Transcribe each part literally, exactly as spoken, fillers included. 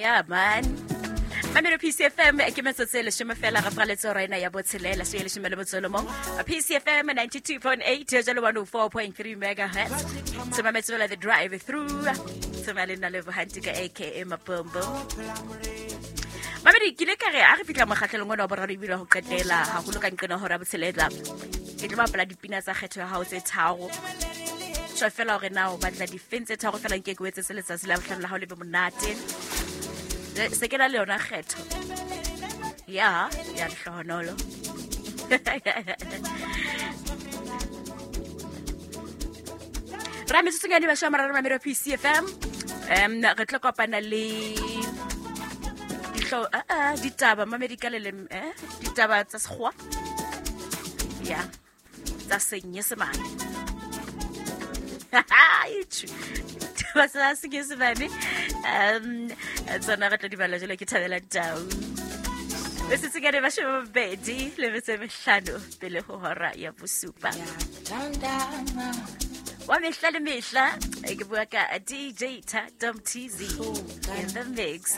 Yeah man. Mamelo P C F M ke metsotso e leshome fela re fraletse hora ena ya botshelela so e leshome le motso mong. P C F M ninety-two point eight jalo one oh four point three megahertz. Tsema the drive through. Tsema le nna le Bohantika A K A Mapombo. Mamedi ke le ka re a re fitla mokgatlelong ona wa boraro ebile ho qetela haholo ka nqena hora botshelela. Ke tlo bapala dipina tsa kgetho ya hao tse tharo. Tjho fela hore na o batla difeng tse tharo fela nke ke o etsetse letsatsi la bohlano la hao le be monate. Se ke la le yona kgetho. Ya, ya lehlohonolo. Ra metsotso nyane ba shwa mararo Mamelo P C F M. Em re tlo kopana le ditlo a a ditaba mamedi ka le eh ditaba tsa sekgowa. Ya. Tsa Senyesemane. Ditaba tsa Senyesemane. Um tsona re tlo di bala jalo ke Thabela Tau. Metsotso nyane ba shwa mabedi le metso e mehlano pele ho hora ya bosupa. Wa mehla le mehla ke bua ka D J Thato T Z in the mix.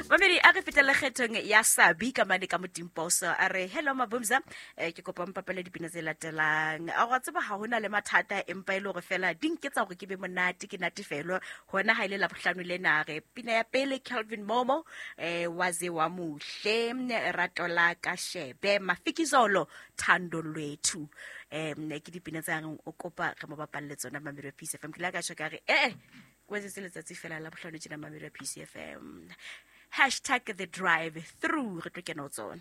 Mamedi a re fetela kgethong ya Sabi ka mane ka Modimposo a re hello Mabumza ke kopa mpapele dipina tse latelang. A go tseba ha hona le mathata empa ile hore fela di nketsa hore ke be monate ke natefelo hona ha ile la bohlano le na re pina ya pele Calvin Momo eh waze wa muhle rato la ka shebe Mafikizolo Thando Lwethu. Em ke dipina tsa reng o kopa re mo bapalle tsona Mamelo P C F M. Ke la ka tjho ka re eh kwetse letsatsi fela la bohlano tjena Mamelo P C F M. Hashtag the drive through re tlo kena ho tsona.